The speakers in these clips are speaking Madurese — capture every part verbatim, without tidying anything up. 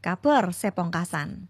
Kabhâr sè pongkasan.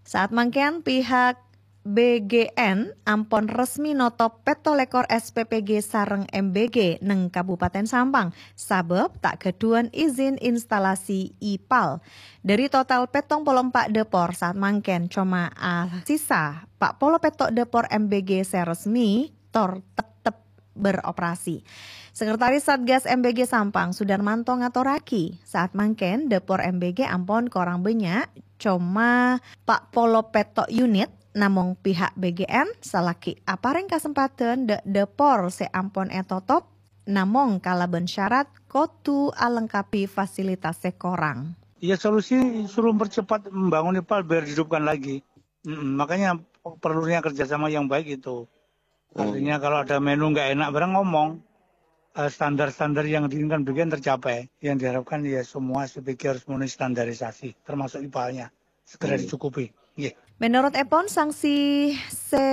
Saat mangkèn pihak B G N ampon resmi notop pètto lèkor S P P G sareng M B G neng Kabupaten Sampang, sabâb ta' ghâdhuwân izin instalasi ipal. Dhâri total pèttong polo empa' dâpor saat mangkèn, coma asisa pa' polo pètto' dâpor M B G sè resmi tor tettep beroperasi. Sekretaris Satgas M B G Sampang, Sudarmanto, ngatorraghi, saat mangkèn dâpor M B G ampon korang bânnya', coma pa' polo pètto' unit, namong pihak B G N salaghi aparèng kasempadhân dâ' dâpor sè ampon ètotop, namong kalabân syarat kodhu alengkabhi fasilitas sè korang. Ya, solusi suruh mempercepat membangun ipal biar dihidupkan lagi. Mm, makanya perlunya kerjasama yang baik itu. Artinya kalau ada menu nggak enak barang ngomong, eh, standar-standar yang diinginkan B G N tercapai. Yang diharapkan ya semua S P P G harus memenuhi standarisasi, termasuk ipalnya. Segera dicukupi. Nggih. Menurut èpon, sanksi sè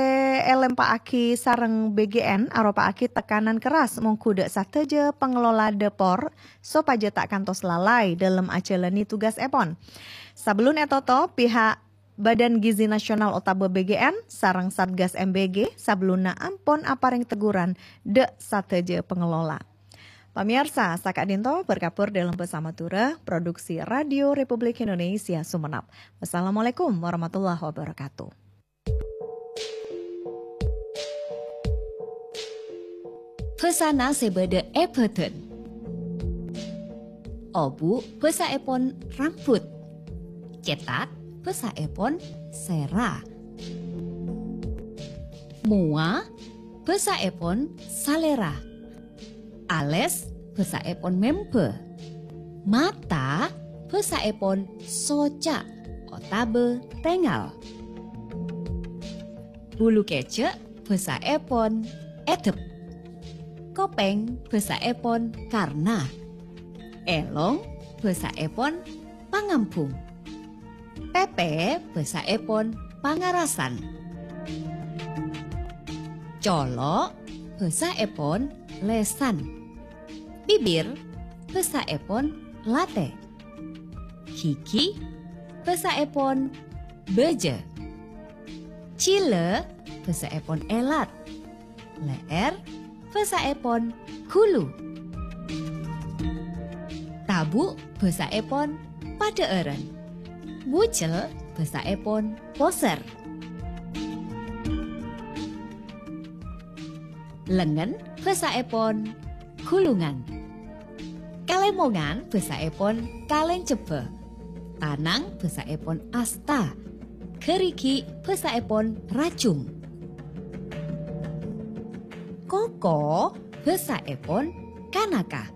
èlèmpa'aghi sareng B G N aropa'aghi tekanan keras mongghu dâ' sadhâjâ pangelola dâpor sopajâ ta' kantos lalai dâlem ajhâlânè tugas èpon. Sabellun ètotop, pihak Badan Gizi Nasional otabâ B G N sareng Satgas M B G sabellunna ampon aparèng teguran dâ' sadhâjâ pangelola. Pamèyarsa, saka'dinto berkabur dâlem bhâsa Madhurâ, produksi Radio Republik Indonesia Sumenep. Wassalamualaikum warahmatullahi wabarakatuh. Bhâsana sè bâdâ è bhâdhân. Obu' bhâsaèpon rambut. Cètak bhâsaèpon sèra. Mowa bhâsaèpon salèra. Alès bhâsaèpon membhâ. Mata bhâsaèpon soca' otabâ tèngal. Bulu kèjhâ' bhâsaèpon èdhep. Kopèng bhâsaèpon karna. Èlong bhâsaèpon pangambhung. Pèpè bhâsaèpon pangarasan. Colo' bhâsaèpon lèsan. Bibir bhâsaèpon latè. Ghighi bhâsaèpon bâjâ. Jhilâ bhâsaèpon èlat. Lè'èr bhâsaèpon ghulu. Tabu' bhâsaèpon padhâ'ârân. Bujel bhâsaèpon posèr. Lengngen bhâsaèpon ghulungan. Kalèmongan bhâsaèpon kalèncebbhâ. Tanang bhâsaèpon asta. Ghârighi' bhâsaèpon rajung. Koko bhâsaèpon kanaka.